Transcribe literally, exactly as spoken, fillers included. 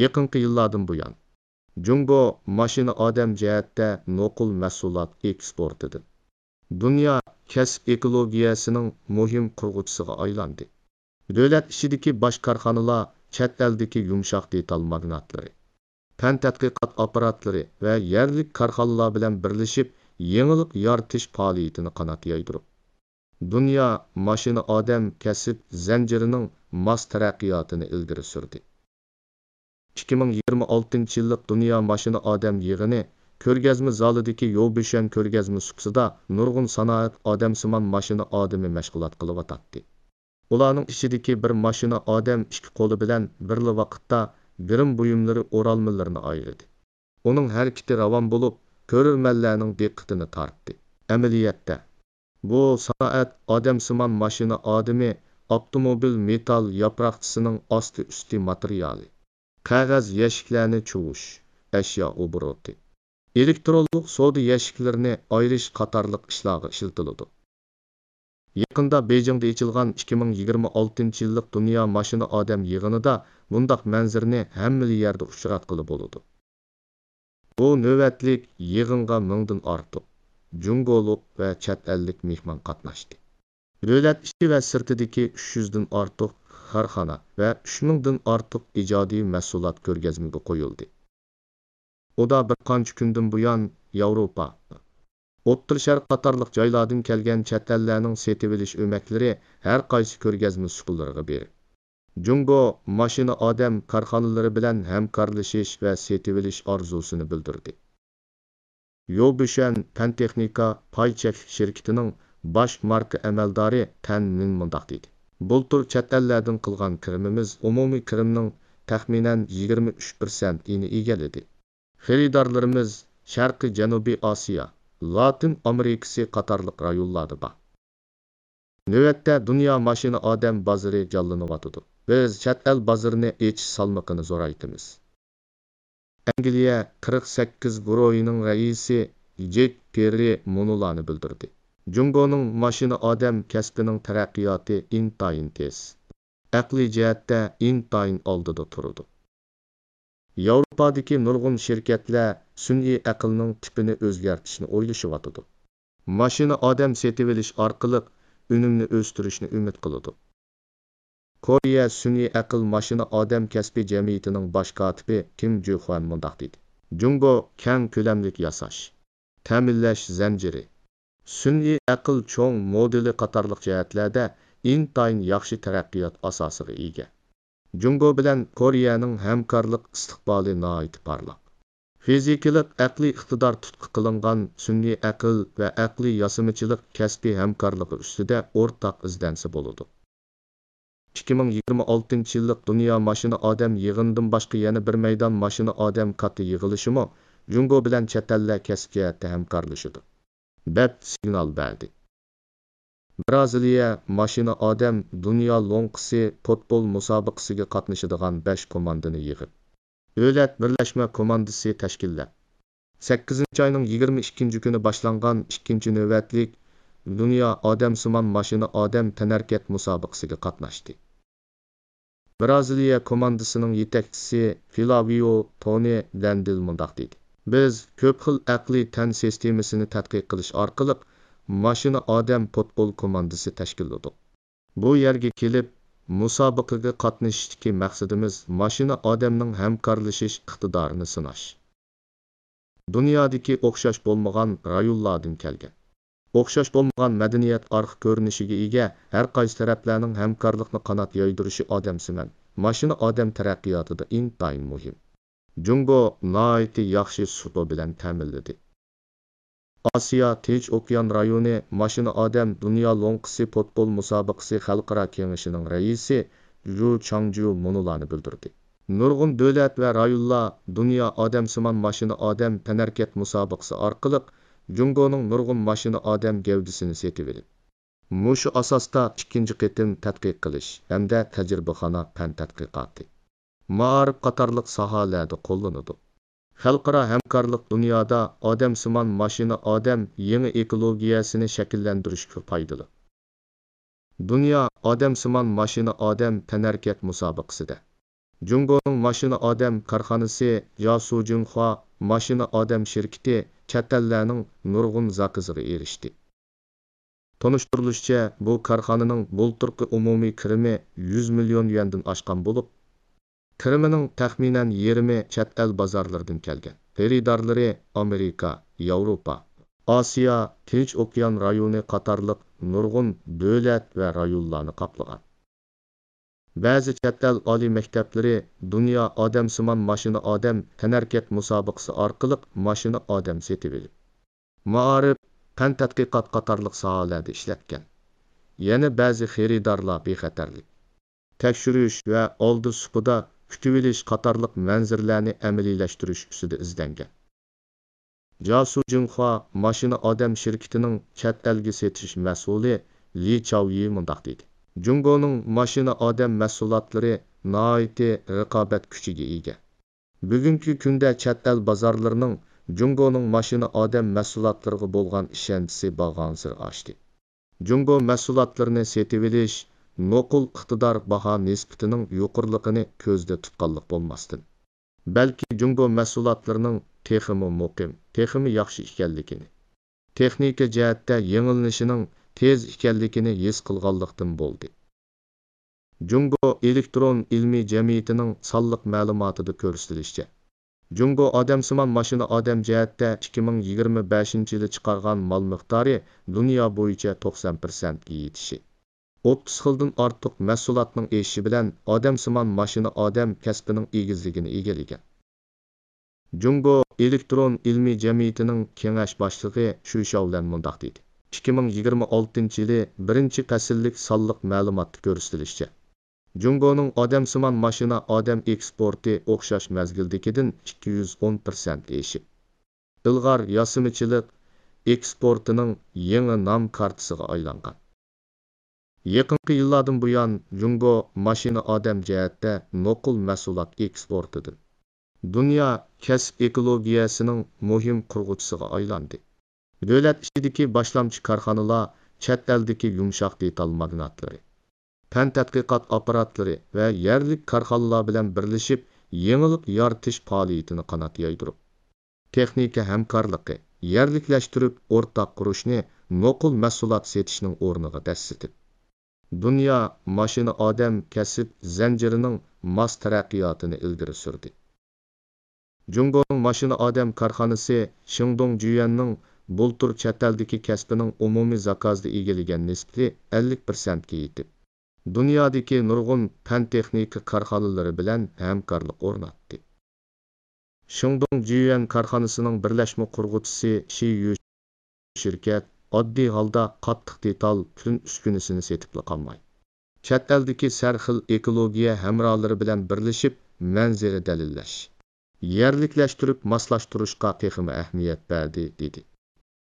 يېقىنقى يىللاردىن بۇيان، جۇڭگو ماشىنا ئادەم جەھەتتە نوقۇل مەھسۇلات ئېكسپورتىدىن دۇنيا كەسىپ ئېكولوگىيەسىنىڭ مۇھىم قۇرغۇچىسىغا ئايلاندى. دۆلەت ئىچىدىكى باش كارخانىلار چەت ئەلدىكى يۇمشاق دېتال ماگناتلىرى، پەن تەتقىقات ئاپپاراتلىرى ۋە يەرلىك كارخانىلار بىلەن بىرلىشىپ، يېڭىلىق يارىتىش پائالىيىتىنى قانات يايدۇرۇپ، دۇنيا ماشىنا ئادەم كەسىپ زەنجىرىنىڭ ماس تەرەققىياتىنى ئىلگىرى سۈردى. ئىككى مىڭ يىگىرمە ئالتىنچى يىللىق دۇنيا ماشىنا ئادەم يىغىنى كۆرگەزمە زالىدىكى يوبۈشەن كۆرگەزمە سۇپىسىدا نۇرغۇن سانائەت ئادەمسىمان ماشىنا ئادىمى مەشغۇلات قىلىۋاتاتتى. ئۇلارنىڭ ئىچىدىكى بىر ماشىنا ئادەم ئىككى قولى بىلەن بىرلا ۋاقىتتا گىرىم بۇيۇملىرى ئورالمىلىرىنى ئايرىدى. ئۇنىڭ ھەرىكىتى راۋان بولۇپ، كۆرۈرمەنلەرنىڭ دىققىتىنى تارتتى. ئەمەلىيەتتە، بۇ سانائەت ئادەمسىمان ماشىنا ئادىمى ئاپتوموبىل مېتال ياپراقچىسىنىڭ ئاستى ئۈستى ماتېرىيالى، قەغەز يەشىكلەرنى چۇۋۇش، ئەشيا ئوبوروتى، ئېلېكترونلۇق سودا يەشىكلىرىنى ئايرىش قاتارلىق ئىشلارغا ئىشلىتىلىدۇ. يېقىندا بېيجىڭدا ئېچىلغان ئىككى مىڭ يىگىرمە ئالتىنچى يىللىق دۇنيا ماشىنا ئادەم يىغىنىدا بۇنداق مەنزىرىنى ھەممىلا يەردە ئۇچراتقىلى بولىدۇ. بۇ نۆۋەتلىك يىغىنغا مىڭدىن ئارتۇق جۇڭگولۇق ۋە چەت ئەللىك مېھمان قاتناشتى. دۆلەت ئىچى ۋە سىرتىدىكى ئۈچ يۈزدىن ئارتۇق كارخانا ۋە ئۈچ مىڭدىن ئارتۇق ئىجادىي مەھسۇلات كۆرگەزمىگە قويۇلدى. ئۇدا بىر قانچە كۈندىن بۇيان ياۋروپا، ئوتتۇرا شەرق قاتارلىق جايلاردىن كەلگەن چەت ئەللەرنىڭ سېتىۋېلىش ئۆمەكلىرى ھەر قايسى كۆرگەزمە سۇپىلىرىغا بېرىپ، جۇڭگو ماشىنا ئادەم كارخانىلىرى بىلەن ھەمكارلىشىش ۋە سېتىۋېلىش ئارزۇسىنى بىلدۈردى. يوبۈشەن پەن تېخنىكا پاي چەكلىك شىركىتىنىڭ باش ماركا ئەمەلدارى تەن مىن مۇنداق دېدى: بۇلتۇر چەت ئەللەردىن قىلغان كىرىمىمىز ئومۇمىي كىرىمنىڭ تەخمىنەن يىگىرمە ئۈچ پىرسەنتىنى ئىگىلىدى. خېرىدارلىرىمىز شەرقىي جەنۇبىي ئاسىيا، لاتىن ئامېرىكىسى قاتارلىق رايونلاردا بار. نۆۋەتتە دۇنيا ماشىنا ئادەم بازىرى جانلىنىۋاتىدۇ. بىز چەت ئەل بازىرىنى ئېچىش سالمىقىنى زورايتىمىز. ئەنگلىيە قىرىق سەككىز گۇرۇھىنىڭ رەئىسى جېك پېررى مۇنۇلارنى بىلدۈردى: جۇڭگونىڭ ماشىنا ئادەم كەسپىنىڭ تەرەققىياتى ئىنتايىن تېز، ئەقلىي جەھەتتە ئىنتايىن ئالدىدا تۇرىدۇ. ياۋروپادىكى نۇرغۇن شىركەتلەر سۈنئىي ئەقىلنىڭ تىپىنى ئۆزگەرتىشنى ئويلىشىۋاتىدۇ. ماشىنا ئادەم سېتىۋېلىش ئارقىلىق ئۈنۈمنى ئۆستۈرۈشنى ئۈمىد قىلىدۇ. كورېيە سۈنئىي ئەقىل ماشىنا ئادەم كەسپى جەمئىيىتىنىڭ باش كاتىپى كىم جۈخۇەن مۇنداق دېدى: جۇڭگو كەڭ كۆلەملىك ياساش، تەمىنلەش زەنجىرى، سۈنئىي ئەقىل چوڭ مودېلى قاتارلىق جەھەتلەردە ئىنتايىن ياخشى تەرەققىيات ئاساسىغا ئىگە. جۇڭگو بىلەن كورېيەنىڭ ھەمكارلىق ئىستىقبالى ناھايىتى پارلاق. فىزىكىلىق ئەقلىي ئىقتىدار تۇتقا قىلىنغان سۈنئىي ئەقىل ۋە ئەقلىي ياسىمىچىلىق كەسپىي ھەمكارلىقى ئۈستىدە ئورتاق ئىزدەنسە بولىدۇ. ئىككى مىڭ يىگىرمە ئالتىنچى يىللىق دۇنيا ماشىنا ئادەم يىغىنىدىن باشقا يەنە بىر مەيدان ماشىنا ئادەم كاتتا يىغىلىشىمۇ جۇڭگو بىلەن چەت ئەللەر كەسىپ جەھەتتە ھەمكارلىشىدۇ، دەپ سىگنال بەردى. برازىلىيە ماشىنا ئادەم دۇنيا لوڭقىسى پۇتبول مۇسابىقىسىگە قاتنىشىدىغان بەش كوماندىنى يىغىپ، دۆلەت بىرلەشمە كوماندىسى تەشكىللەپ، سەككىزىنچى ئاينىڭ يىگىرمە ئىككىنچى كۈنى باشلانغان ئىككىنچى نۆۋەتلىك دۇنيا ئادەمسىمان ماشىنا ئادەم تەنھەرىكەت مۇسابىقىسىگە قاتناشتى. برازىلىيە كوماندىسىنىڭ يېتەكچىسى فلاۋىيو تونى دەندىل مۇنداق دېدى: بىز كۆپ خىل ئەقلىي تەن سىستېمىسىنى تەتقىق قىلىش ئارقىلىق ماشىنا ئادەم پۇتبول كوماندىسى تەشكىللىدۇق. بۇ يەرگە كېلىپ، مۇسابىقىگە قاتنىشىشتىكى مەقسىتىمىز ماشىنا ئادەمنىڭ ھەمكارلىشىش ئىقتىدارىنى سىناش. دۇنيادىكى ئوخشاش بولمىغان رايونلاردىن كەلگەن، ئوخشاش بولمىغان مەدەنىيەت ئارقا كۆرۈنۈشىگە ئىگە، ھەر قايسى تەرەپلەرنىڭ ھەمكارلىقنى قانات يايدۇرۇشى ئادەمسىمان ماشىنا ئادەم تەرەققىياتىدا ئىنتايىن مۇھىم. جۇڭگو ناھايىتى ياخشى سۇپا بىلەن تەمىنلىدى. ئاسىيا تىنچ ئوكيان رايونى ماشىنا ئادەم دۇنيا لوڭقىسى پۇتبول مۇسابىقىسى خەلقئارا كېڭىشىنىڭ رەئىسى ژۇ چاڭجيۇ مۇنۇلارنى بىلدۈردى: نۇرغۇن دۆلەت ۋە رايونلار دۇنيا ئادەمسىمان ماشىنا ئادەم تەنھەرىكەت مۇسابىقىسى ئارقىلىق جۇڭگونىڭ نۇرغۇن ماشىنا ئادەم گەۋدىسىنى سېتىۋېلىپ، مۇشۇ ئاساستا ئىككىنچى قېتىم تەتقىق قىلىش ھەمدە تەجرىبىخانا پەن تەتقىقاتى، مائارىپ قاتارلىق ساھەلەردە قوللىنىدۇ. خەلقئارا ھەمكارلىق دۇنيادا ئادەمسىمان ماشىنا ئادەم يېڭى ئېكولوگىيەسىنى شەكىللەندۈرۈشكە پايدىلىق. دۇنيا ئادەمسىمان ماشىنا ئادەم تەنھەرىكەت مۇسابىقىسىدە جۇڭگونىڭ ماشىنا ئادەم كارخانىسى جياسۇ جىڭخۇا ماشىنا ئادەم شىركىتى چەت ئەللەرنىڭ نۇرغۇن زاكىزىغا ئېرىشتى. تونۇشتۇرۇلۇشىچە، بۇ كارخانىنىڭ بۇلتۇرقى ئومۇمىي كىرىمى يۈز مىليون يۈەندىن ئاشقان بولۇپ، كىرىمىنىڭ تەخمىنەن يېرىمى چەت ئەل بازارلىرىدىن كەلگەن. خېرىدارلىرى ئامېرىكا، ياۋروپا، ئاسىيا، تىنچ ئوكيان رايونى قاتارلىق نۇرغۇن دۆلەت ۋە رايونلارنى قاپلىغان. بەزى چەت ئەل ئالىي مەكتەپلىرى دۇنيا ئادەمسىمان ماشىنا ئادەم تەنھەرىكەت مۇسابىقىسى ئارقىلىق ماشىنا ئادەم سېتىۋېلىپ، مائارىپ، پەن تەتقىقات قاتارلىق ساھەلەردە ئىشلەتكەن. يەنە بەزى خېرىدارلار بىخەتەرلىك، تەكشۈرۈش ۋە ئالدى سۇپىدا كۈتۈۋېلىش قاتارلىق مەنزىرىلەرنى ئەمەلىيلەشتۈرۈش ئۈستىدە ئىزدەنگەن. جياسۇ جىڭخۇا ماشىنا ئادەم شىركىتىنىڭ چەت ئەلگە سېتىش مەسئۇلى لى چاۋيى مۇنداق دېدى: جۇڭگونىڭ ماشىنا ئادەم مەھسۇلاتلىرى ناھايىتى رىقابەت كۈچىگە ئىگە. بۈگۈنكى كۈندە چەت ئەل بازارلىرىنىڭ جۇڭگونىڭ ماشىنا ئادەم مەھسۇلاتلىرىغا بولغان ئىشەنچىسى بارغانسېرى ئاشتى. جۇڭگو مەھسۇلاتلىرىنى سېتىۋېلىش نوقۇل ئىقتىدار باھا نىسبىتىنىڭ يۇقىرىلىقىنى كۆزدە تۇتقانلىق بولماستىن، بەلكى جۇڭگو مەھسۇلاتلىرىنىڭ تېخىمۇ مۇقىم، تېخىمۇ ياخشى ئىكەنلىكىنى، تېخنىكا جەھەتتە يېڭىلىنىشىنىڭ تېز ئىكەنلىكىنى ھېس قىلغانلىقتىن بولدى. جۇڭگو ئېلېكترون ئىلمىي جەمئىيىتىنىڭ سانلىق مەلۇماتىدا كۆرسىتىلىشىچە، جۇڭگو ئادەمسىمان ماشىنا ئادەم جەھەتتە ئىككى مىڭ يىگىرمە بەشىنچى يىلى چىقارغان مال مىقدارى دۇنيا بويىچە توقسان پىرسەنتكە يېتىشى، ئوتتۇز خىلدىن ئارتۇق مەھسۇلاتنىڭ ئېشىشى بىلەن ئادەمسىمان ماشىنا ئادەم كەسپىنىڭ ئېگىزلىكىنى ئىگىلىگەن. جۇڭگو ئېلېكترون ئىلمىي جەمئىيىتىنىڭ كېڭەش باشلىقى شۈ شياۋلەن مۇنداق دېدى: ئىككى مىڭ يىگىرمە ئالتىنچى يىلى بىرىنچى پەسىللىك سانلىق مەلۇماتتا كۆرسىتىلىشىچە، جۇڭگونىڭ ئادەمسىمان ماشىنا ئادەم ئېكسپورتى ئوخشاش مەزگىلدىكىدىن ئىككى يۈز ئون پىرسەنت ئېشىپ، ئىلغار ياسىمىچىلىق ئېكسپورتىنىڭ يېڭى نام كارتىسىغا ئايلانغان. يېقىنقى يىللاردىن بۇيان، جۇڭگو ماشىنا ئادەم جەھەتتە نوقۇل مەھسۇلات ئېكسپورتىدىن دۇنيا كەسىپ ئېكولوگىيەسىنىڭ مۇھىم قۇرغۇچىسىغا ئايلاندى. دۆلەت ئىچىدىكى باشلامچى كارخانىلار، چەت ئەلدىكى يۇمشاق دېتال ماگناتلىرى، پەن تەتقىقات ئاپپاراتلىرى ۋە يەرلىك كارخانىلار بىلەن بىرلىشىپ، يېڭىلىق يارىتىش پائالىيىتىنى قانات يايدۇرۇپ، تېخنىكا ھەمكارلىقى، يەرلىكلەشتۈرۈپ ئورتاق قۇرۇشنى نوقۇل مەھسۇلات سېتىشنىڭ ئورنىغا دەسسىتىپ، دۇنيا ماشىنا ئادەم كەسىپ زەنجىرىنىڭ ماس تەرەققىياتىنى ئىلگىرى سۈردى. جۇڭگونىڭ ماشىنا ئادەم كارخانىسى شېڭدۇڭ جۈيۈەننىڭ بۇلتۇر چەت ئەلدىكى كەسپىنىڭ ئومۇمىي زاكازدا ئىگىلىگەن نىسبىتى ئەللىك پىرسەنتكە يېتىپ، دۇنيادىكى نۇرغۇن پەن تېخنىكا كارخانىلىرى بىلەن ھەمكارلىق ئورناتتى. شېڭدۇڭ جۈيۈەن كارخانىسىنىڭ بىرلەشمە قۇرغۇچىسى شى يۈ شىركەت ئاددىي ھالدا قاتتىق دېتال، پۈتۈن ئۈسكۈنىسىنى سېتىپلا قالماي، چەت ئەلدىكى سەرخىل ئېكولوگىيە ھەمراھلىرى بىلەن بىرلىشىپ مەنزىرە دەلىللەش، يەرلىكلەشتۈرۈپ ماسلاشتۇرۇشقا تېخىمۇ ئەھمىيەت بەردى، دېدى.